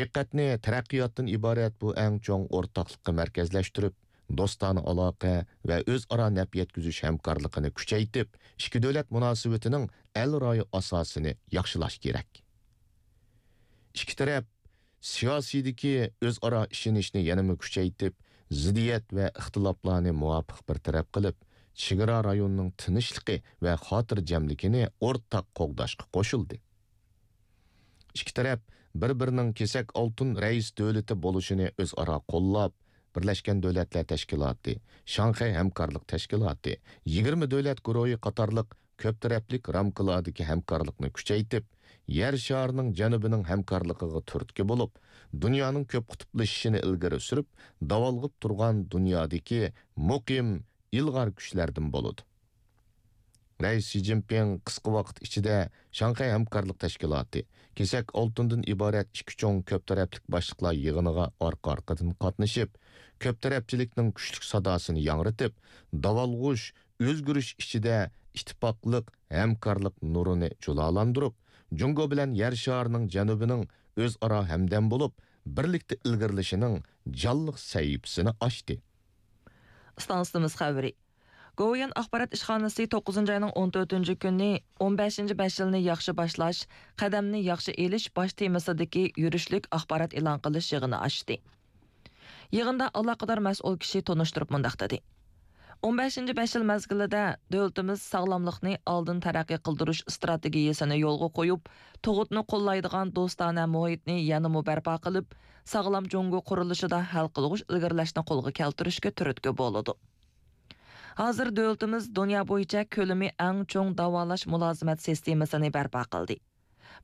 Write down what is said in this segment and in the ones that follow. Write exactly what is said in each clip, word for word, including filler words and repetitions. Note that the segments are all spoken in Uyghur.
دىققەتنى تەرەققىياتتىن ئىبارەت بۇ ئەڭ چوڭ ئورتاقلىققا مەركەزلەشتۈرۈپ، دوستانە ئالاقە ۋە ئۆزئارا نەپ يەتكۈزۈش ھەمكارلىقىنى كۈچەيتىپ، ئىككى دۆلەت مۇناسىۋىتىنىڭ ئەل رايى ئاساسىنى ياخشىلاش كېرەك. ئىككى تەرەپ سىياسىيدىكى ئۆزئارا ئىشىنىشنى يەنىمۇ كۈچەيتىپ، زىددىيەت ۋە ئىختىلاپلارنى مۇۋاپىق بىر تەرەپ قىلىپ، چېگرا رايونىنىڭ تىنچلىقى ۋە خاتىرجەملىكىنى ئورتاق قوغداشقا قوشۇلدى. ئىككى تەرەپ بىر-بىرىنىڭ كېسەك ئالتۇن رەئىس دۆلىتى بولۇشىنى ئۆزئارا قوللاپ، بىرلەشكەن دۆلەتلەر تەشكىلاتى، شاڭخەي ھەمكارلىق تەشكىلاتى، يىگىرمە دۆلەت گۇرۇھى قاتارلىق كۆپ تەرەپلىك رامكىلاردىكى ھەمكارلىقنى كۈچەيتىپ، يەر شارىنىڭ جەنۇبىنىڭ ھەمكارلىقىغا تۈرتكە بولۇپ، دۇنيانىڭ كۆپ قۇتۇپلىشىشىنى ئىلگىرى سۈرۈپ، داۋالغۇپ تۇرغان دۇنيادىكى مۇقىم، ئىلغار كۈچلەردىن بولىدۇ. رەئىس شى جىنپىڭ قىسقا ۋاقىت ئىچىدە شاڭخەي ھەمكارلىق تەشكىلاتى، كېسەك ئالتۇندىن ئىبارەت ئىككى چوڭ كۆپ تەرەپلىك باشلىقلار يىغىنىغا ئارقا-ئارقىدىن قاتنىشىپ، كۆپ تەرەپچىلىكنىڭ كۈچلۈك ساداسىنى ياڭرىتىپ، داۋالغۇش، ئۆزگىرىش ئىچىدە ئىتتىپاقلىق، ھەمكارلىق نۇرىنى جۇلالاندۇرۇپ، جۇڭگو بىلەن يەر شارىنىڭ جەنۇبىنىڭ ئۆزئارا ھەمدەم بولۇپ، بىرلىكتە ئىلگىرىلىشىنىڭ جانلىق سەھىپىسىنى ئاچتى. ئىستانسىمىز خەۋىرى. گوۋۇيۈەن ئاخبارات ئىشخانىسى توققۇزىنچى ئاينىڭ ئون تۆتىنچى كۈنى «ئون بەشىنچى بەش يىلنى ياخشى باشلاش، قەدەمنى ياخشى ئېلىش» باش تېمىسىدىكى يۈرۈشلۈك ئاخبارات ئېلان قىلىش يىغىنى ئاچتى. يىغىندا ئالاقىدار مەسئۇل كىشى تونۇشتۇرۇپ مۇنداق دېدى: «ئون بەشىنچى بەش يىل مەزگىلىدە دۆلىتىمىز ساغلاملىقنى ئالدىن تەرەققىي قىلدۇرۇش ئىستراتېگىيەسىنى يولغا قويۇپ، تۇغۇتنى قوللايدىغان دوستانە مۇھىتنى يەنىمۇ بەرپا قىلىپ، ساغلام جۇڭگو قۇرۇلۇشىدا ھەل قىلغۇچ ئىلگىرىلەشنى قولغا كەلتۈرۈشكە تۈرتكە بولىدۇ.» ھازىر دۆلىتىمىز دۇنيا بويىچە كۆلىمى ئەڭ چوڭ داۋالاش مۇلازىمەت سىستېمىسىنى بەرپا قىلدى.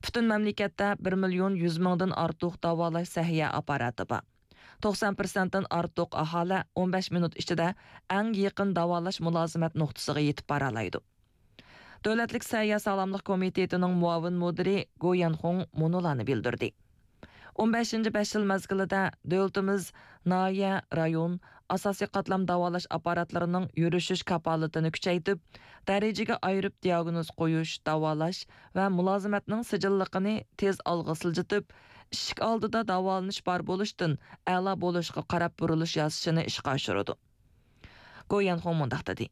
پۈتۈن مەملىكەتتە بىر مىليون يۈز مىڭدىن ئارتۇق داۋالاش سەھىيە ئاپپاراتى بار. توقسان پىرسەنتتىن ئارتۇق ئاھالە ئون بەش مىنۇت ئىچىدە ئەڭ يېقىن داۋالاش مۇلازىمەت نۇقتىسىغا يېتىپ بارالايدۇ. دۆلەتلىك سەھىيە ساغلاملىق كومىتېتىنىڭ مۇئاۋىن مۇدىرى گو يەنخۇڭ مۇنۇلارنى بىلدۈردى: «ئون بەشىنچى بەش يىل مەزگىلىدە دۆلىتىمىز ناھىيە، رايون، ئاساسىي قاتلام داۋالاش ئاپپاراتلىرىنىڭ يۈرۈشۈش كاپالىتىنى كۈچەيتىپ، دەرىجىگە ئايرىپ دىئاگنوز قويۇش، داۋالاش ۋە مۇلازىمەتنىڭ سىجىللىقىنى تېز ئالغا سىلجىتىپ، ئىشىك ئالدىدا داۋالىنىش بار بولۇشتىن ئەلا بولۇشقا قاراپ بۇرۇلۇش ياسىشىنى ئىشقا ئاشۇرىدۇ.» گو يەنخۇڭ مۇنداق دېدى: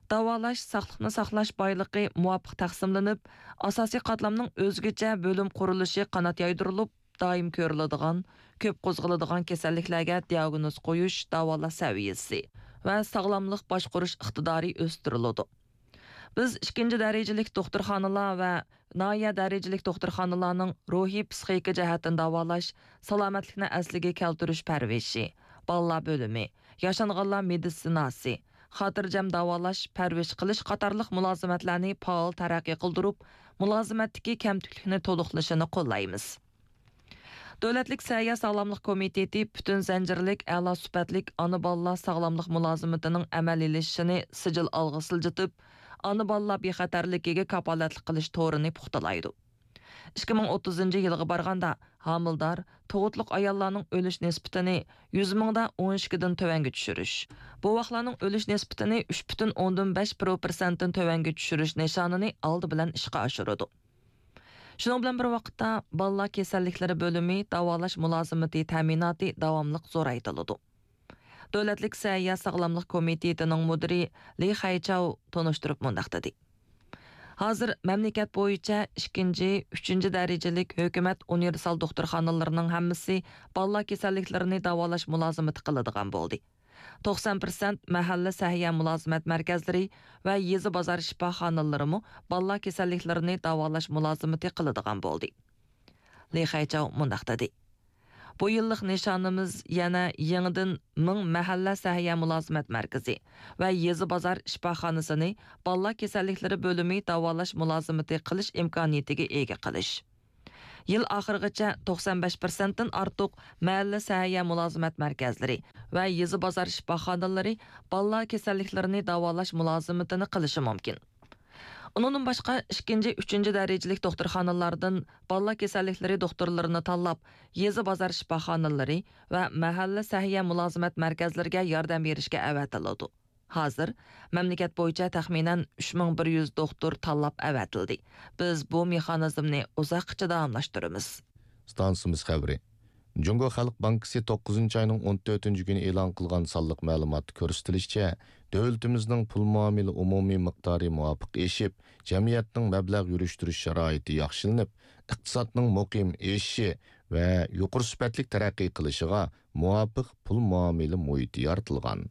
«داۋالاش، ساقلىقنى ساقلاش بايلىقى مۇۋاپىق تەقسىملىنىپ، ئاساسىي قاتلامنىڭ ئۆزگىچە بۆلۈم قۇرۇلۇشى قانات يايدۇرۇلۇپ، دائىم كۆرۈلىدىغان، كۆپ قوزغىلىدىغان كېسەللىكلەرگە دىئاگنوز قويۇش، داۋالاش سەۋىيەسى ۋە ساغلاملىق باشقۇرۇش ئىقتىدارى ئۆستۈرۈلىدۇ. بىز ئىككىنچى دەرىجىلىك دوختۇرخانىلار ۋە ناھىيە دەرىجىلىك دوختۇرخانىلارنىڭ روھىي پىسخىكا جەھەتتىن داۋالاش، سالامەتلىكنى ئەسلىگە كەلتۈرۈش پەرۋىشى، بالىلار بۆلۈمى، ياشانغانلار مېدىتسىناسى، خاتىرجەم داۋالاش، پەرۋىش قىلىش قاتارلىق مۇلازىمەتلەرنى پائال تەرەققىي قىلدۇرۇپ، مۇلازىمەتتىكى كەمتۈكلۈكنى تولۇقلىشىنى قوللايمىز.» دۆلەتلىك سەھىيە ساغلاملىق كومىتېتى پۈتۈن زەنجىرلىك ئەلا سۈپەتلىك ئانا-بالىلار ساغلاملىق مۇلازىمىتىنىڭ ئەمەلىيلىشىشىنى سىجىل ئالغا سىلجىتىپ، ئانا-بالىلار بىخەتەرلىكىگە كاپالەتلىك قىلىش تورىنى پۇختىلايدۇ. ئىككى مىڭ ئوتتۇزىنچى يىلغا بارغاندا، ھامىلىدار، تۇغۇتلۇق ئاياللارنىڭ ئۆلۈش نىسبىتىنى يۈز مىڭدا ئون ئىككىدىن تۆۋەنگە چۈشۈرۈش، بوۋاقلارنىڭ ئۆلۈش نىسبىتىنى ئۈچ پۈتۈن ئوندىن بەش پىرسەنتتىن تۆۋەنگە چۈشۈرۈش نىشانىنى ئالدى بىلەن ئىشقا ئاشۇرىدۇ. شۇنىڭ بىلەن بىر ۋاقىتتا، بالىلار كېسەللىكلىرى بۆلۈمى داۋالاش مۇلازىمىتى تەمىناتى داۋاملىق زورايتىلىدۇ. دۆلەتلىك سەھىيە ساغلاملىق كومىتېتىنىڭ مۇدىرى لى خەيچاۋ تونۇشتۇرۇپ مۇنداق دېدى: «ھازىر مەملىكەت بويىچە ئىككىنچى، ئۈچىنچى دەرىجىلىك ھۆكۈمەت ئۇنىۋېرسال دوختۇرخانىلىرىنىڭ ھەممىسى بالىلار كېسەللىكلىرىنى داۋالاش مۇلازىمىتى قىلىدىغان بولدى. توقسان پىرسەنت مەھەللە سەھىيە مۇلازىمەت مەركەزلىرى ۋە يېزا بازار شىپاخانىلىرىمۇ بالىلار كېسەللىكلىرىنى داۋالاش مۇلازىمىتى قىلىدىغان بولدى.» لى خەيچاۋ مۇنداق دېدى: «بۇ يىللىق نىشانىمىز يەنە يېڭىدىن مىڭ مەھەللە سەھىيە مۇلازىمەت مەركىزى ۋە يېزا بازار شىپاخانىسىنى بالىلار كېسەللىكلىرى بۆلۈمى داۋالاش مۇلازىمىتى قىلىش ئىمكانىيىتىگە ئىگە قىلىش. يىل ئاخىرىغىچە توقسان بەش پىرسەنتتىن ئارتۇق مەھەللە سەھىيە مۇلازىمەت مەركەزلىرى ۋە يېزا بازار شىپاخانىلىرى بالىلار كېسەللىكلىرىنى داۋالاش مۇلازىمىتىنى قىلىشى مۇمكىن.» ئۇنىڭدىن باشقا، ئىككىنچى، ئۈچىنچى دەرىجىلىك دوختۇرخانىلاردىن بالىلار كېسەللىكلىرى دوختۇرلىرىنى تاللاپ، يېزا بازار شىپاخانىلىرى ۋە مەھەللە سەھىيە مۇلازىمەت مەركەزلىرىگە ياردەم بېرىشكە ئەۋەتىلىدۇ. ھازىر مەملىكەت بويىچە تەخمىنەن ئۈچ مىڭ بىر يۈز دوختۇر تاللاپ ئەۋەتىلدى. بىز بۇ مېخانىزمنى ئۇزاققىچە داۋاملاشتۇرىمىز. ئىستانسىمىز خەۋىرى. جۇڭگو خەلق بانكىسى توققۇزىنچى ئاينىڭ ئون تۆتىنچى كۈنى ئېلان قىلغان سانلىق مەلۇماتتا كۆرسىتىلىشىچە، دۆلىتىمىزنىڭ پۇل مۇئامىلە ئومۇمىي مىقدارى مۇۋاپىق ئېشىپ، جەمئىيەتنىڭ مەبلەغ يۈرۈشتۈرۈش شارائىتى ياخشىلىنىپ، ئىقتىسادنىڭ مۇقىم ئېشىشى ۋە يۇقىرى سۈپەتلىك تەرەققىي قىلىشىغا مۇۋاپىق پۇل مۇئامىلە مۇھىتى يارىتىلغان.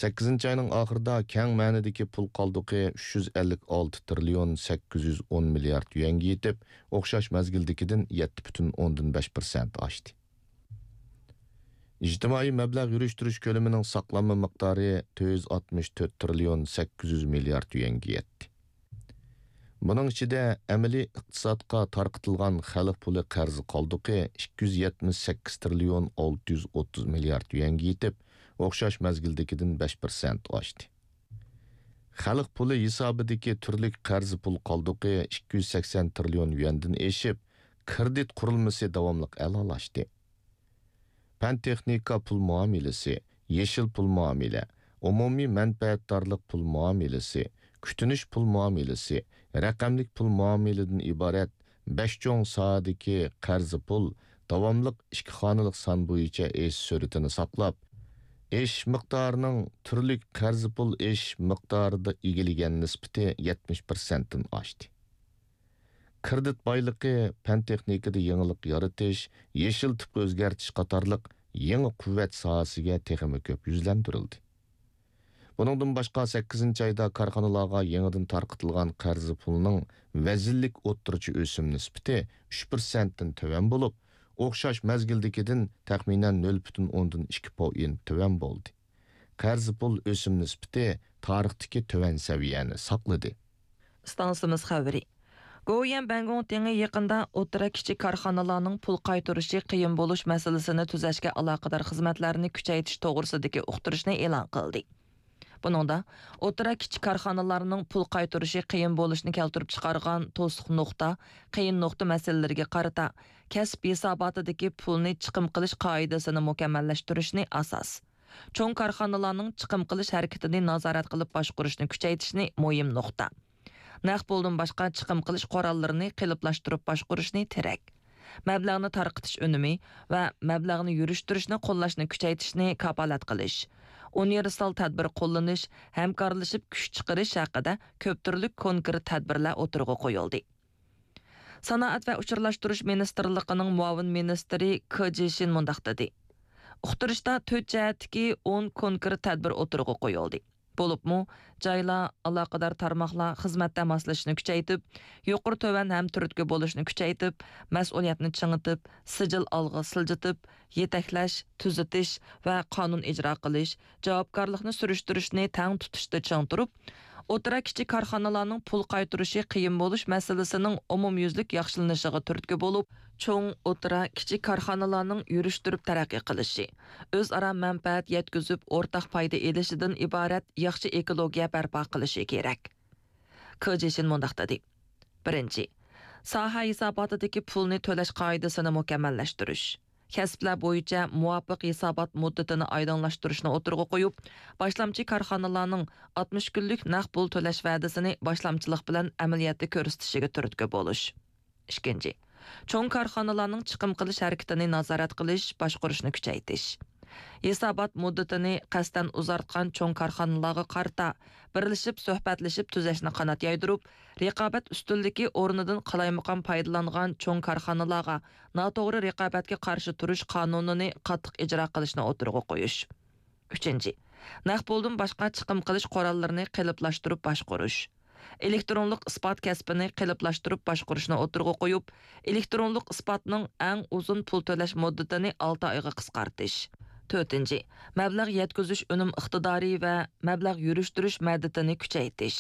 سەككىزىنچى ئاينىڭ ئاخىرىدا كەڭ مەنىدىكى پۇل قالدۇقى ئۈچ يۈز ئەللىك ئالتە تىرىليون سەككىز يۈز ئون مىليارد يۈەنگە يېتىپ، ئوخشاش مەزگىلدىكىدىن يەتتە پۈتۈن ئوندىن بەش پىرسەنت ئاشتى. ئىجتىمائىي مەبلەغ يۈرۈشتۈرۈش كۆلىمىنىڭ ساقلانما مىقدارى تۆت يۈز ئاتمىش تۆت تىرىليون سەككىز يۈز مىليارد يۈەنگە يەتتى. بۇنىڭ ئىچىدە ئەمەلىي ئىقتىسادقا تارقىتىلغان خەلق پۇلى قەرز قالدۇقى ئىككى يۈز يەتمىش سەككىز تىرىليون ئالتە يۈز ئوتتۇز مىليارد يۈەنگە يېتىپ، ئوخشاش مەزگىلدىكىدىن بەش پىرسەنت ئاشتى. خەلق پۇلى ھېسابىدىكى تۈرلۈك قەرز پۇل قالدۇقى ئىككى يۈز سەكسەن تىرىليون يۈەندىن ئېشىپ، كىرېدىت قۇرۇلمىسى داۋاملىق ئەلالاشتى. پەن تېخنىكا پۇل مۇئامىلىسى، يېشىل پۇل مۇئامىلە، ئومۇمىي مەنپەئەتدارلىق پۇل مۇئامىلىسى، كۈتۈنۈش پۇل مۇئامىلىسى، رەقەملىك پۇل مۇئامىلىدىن ئىبارەت بەش چوڭ ساھەدىكى قەرز پۇل داۋاملىق ئىككى خانىلىق سان بويىچە ئېشىش سۈرئىتىنى ساقلاپ، ئېشىش مىقدارىنىڭ تۈرلۈك قەرز پۇل ئېشىش مىقدارىدا ئىگىلىگەن نىسبىتى يەتمىش پىرسەنتتىن ئاشتى. كىرېدىت بايلىقى، پەن تېخنىكىدا يېڭىلىق يارىتىش، يېشىل تىپقا ئۆزگەرتىش قاتارلىق يېڭى قۇۋۋەت ساھەسىگە تېخىمۇ كۆپ يۈزلەندۈرۈلدى. بۇنىڭدىن باشقا، سەككىزىنچى ئايدا كارخانىلارغا يېڭىدىن تارقىتىلغان قەرز پۇلىنىڭ ۋەزىنلىك ئوتتۇرىچە ئۆسۈم نىسبىتى ئۈچ پىرسەنتتىن تۆۋەن بولۇپ، ئوخشاش مەزگىلدىكىدىن تەخمىنەن نۆل پۈتۈن ئوندىن ئىككى پوئېنت تۆۋەن بولدى. قەرز پۇل ئۆسۈم نىسبىتى تارىختىكى تۆۋەن سەۋىيەنى ساقلىدى. ئىستانسىمىز خەۋىرى. گوۋۇيۈەن بەنگوڭتىڭى يېقىندا ئوتتۇرا، كىچىك كارخانىلارنىڭ پۇل قايتۇرۇشى قىيىن بولۇش مەسىلىسىنى تۈزەشكە ئالاقىدار خىزمەتلەرنى كۈچەيتىش توغرىسىدىكى ئۇقتۇرۇشنى ئېلان قىلدى. بۇنىڭدا ئوتتۇرا، كىچىك كارخانىلارنىڭ پۇل قايتۇرۇشى قىيىن بولۇشىنى كەلتۈرۈپ چىقارغان توسۇق نۇقتا، قىيىن نۇقتا مەسىلىلىرىگە قارىتا، كەسىپ ھېساباتىدىكى پۇلنى چىقىم قىلىش قائىدىسىنى مۇكەممەللەشتۈرۈشنى ئاساس، چوڭ كارخانىلارنىڭ چىقىم قىلىش ھەرىكىتىنى نازارەت قىلىپ باشقۇرۇشنى كۈچەيتىشنى مۇھىم نۇقتا، نەق پۇلدىن باشقا چىقىم قىلىش قوراللىرىنى قېلىپلاشتۇرۇپ باشقۇرۇشنى تىرەك، مەبلەغنى تارقىتىش ئۈنۈمى ۋە مەبلەغنى يۈرۈشتۈرۈشنى قوللاشنى كۈچەيتىشنى كاپالەت قىلىش، ئۇنىۋېرسال تەدبىر قوللىنىش، ھەمكارلىشىپ كۈچ چىقىرىش ھەققىدە كۆپ تۈرلۈك كونكرېت تەدبىرلەر ئوتتۇرىغا قويۇلدى. سانائەت ۋە ئۇچۇرلاشتۇرۇش مىنىستىرلىقىنىڭ مۇئاۋىن مىنىستىرى كې جىشىن مۇنداق دېدى: ئۇقتۇرۇشتا تۆت جەھەتتىكى ئون كونكرېت تەدبىر ئوتتۇرىغا قويۇلدى. بولۇپمۇ، جايلار، ئالاقىدار تارماقلار خىزمەتتە ماسلىشىشنى كۈچەيتىپ، يۇقىرى تۆۋەن ھەم تۈرتكە بولۇشنى كۈچەيتىپ، مەسئۇلىيەتنى چىڭىتىپ، سىجىل ئالغا سىلجىتىپ، يېتەكلەش، تۈزىتىش ۋە قانۇن ئىجرا قىلىش، جاۋابكارلىقنى سۈرۈشتۈرۈشنى تەڭ تۇتۇشتا چىڭ تۇرۇپ، ئوتتۇرا، كىچىك كارخانىلارنىڭ پۇل قايتۇرۇشى قىيىن بولۇش مەسىلىسىنىڭ ئومۇميۈزلۈك ياخشىلىنىشىغا تۈرتكە بولۇپ، چوڭ، ئوتتۇرا، كىچىك كارخانىلارنىڭ يۈرۈشتۈرۈپ تەرەققىي قىلىشى، ئۆزئارا مەنپەئەت يەتكۈزۈپ، ئورتاق پايدا ئېلىشىدىن ئىبارەت ياخشى ئېكولوگىيە بەرپا قىلىشى كېرەك. كې جىشىن مۇنداق دېدى: بىرىنچى، ساھە ھېساباتىدىكى پۇلنى تۆلەش قائىدىسىنى مۇكەممەللەشتۈرۈش، كەسىپلەر بويىچە مۇۋاپىق ھېسابات مۇددىتىنى ئايدىڭلاشتۇرۇشنى ئوتتۇرىغا قويۇپ، باشلامچى كارخانىلارنىڭ ئاتمىش كۈنلۈك نەق پۇل تۆلەش ۋەدىسىنى باشلامچىلىق بىلەن ئەمەلىيەتتە كۆرسىتىشىگە تۈرتكە بولۇش. ئىككىنچى، چوڭ كارخانىلارنىڭ چىقىم قىلىش ھەرىكىتىنى نازارەت قىلىش، باشقۇرۇشنى كۈچەيتىش. ھېسابات مۇددىتىنى قەستەن ئۇزارتقان چوڭ كارخانىلارغا قارىتا بىرلىشىپ سۆھبەتلىشىپ تۈزەشنى قانات يايدۇرۇپ، رىقابەت ئۈستۈنلۈكى ئورنىدىن قالايمىقان پايدىلانغان چوڭ كارخانىلارغا ناتوغرا رىقابەتكە قارشى تۇرۇش قانۇنىنى قاتتىق ئىجرا قىلىشنى ئوتتۇرىغا قويۇش. ئۈچىنچى، نەق پۇلدىن باشقا چىقىم قىلىش قوراللىرىنى قېلىپلاشتۇرۇپ باشقۇرۇش. ئېلېكترونلۇق ئىسپات كەسپىنى قېلىپلاشتۇرۇپ باشقۇرۇشنى ئوتتۇرىغا قويۇپ، ئېلېكترونلۇق ئىسپاتنىڭ ئەڭ ئۇزۇن پۇل تۆلەش مۇددىتىنى ئالتە ئايغا قىسقارتىش. تۆتىنچى، مەبلەغ يەتكۈزۈش ئۈنۈم ئىقتىدارى ۋە مەبلەغ يۈرۈشتۈرۈش مەددىتىنى كۈچەيتىش.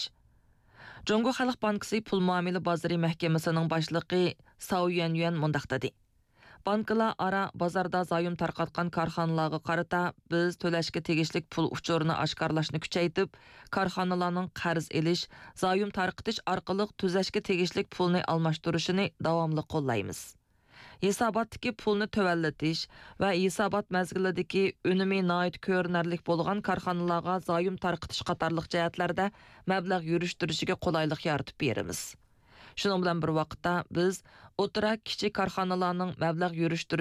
جۇڭگو خەلق بانكىسى پۇل مۇئامىلە بازىرى مەھكىمىسىنىڭ باشلىقى ساۋ يۈەنيۈەن مۇنداق دېدى: بانكىلار ئارا بازاردا زايوم تارقاتقان كارخانىلارغا قارىتا بىز تۆلەشكە تېگىشلىك پۇل ئۇچۇرىنى ئاشكارىلاشنى كۈچەيتىپ، كارخانىلارنىڭ قەرز ئېلىش، زايوم تارقىتىش ئارقىلىق تۈزەشكە تېگىشلىك پۇلنى ئالماشتۇرۇشىنى داۋاملىق قوللايمىز. ھېساباتتىكى پۇلنى تۆۋەنلىتىش ۋە ھېسابات مەزگىلىدىكى ئۈنۈمى ناھايىتى كۆرۈنەرلىك بولغان كارخانىلارغا زايوم تارقىتىش قاتارلىق جەھەتلەردە مەبلەغ يۈرۈشتۈرۈشىگە قولايلىق يارىتىپ بېرىمىز. شۇنىڭ بىلەن بىر ۋاقىتتا، بىز ئوتتۇرا، كىچىك كارخانىلارنىڭ مەبلەغ يۈرۈشتۈرۈش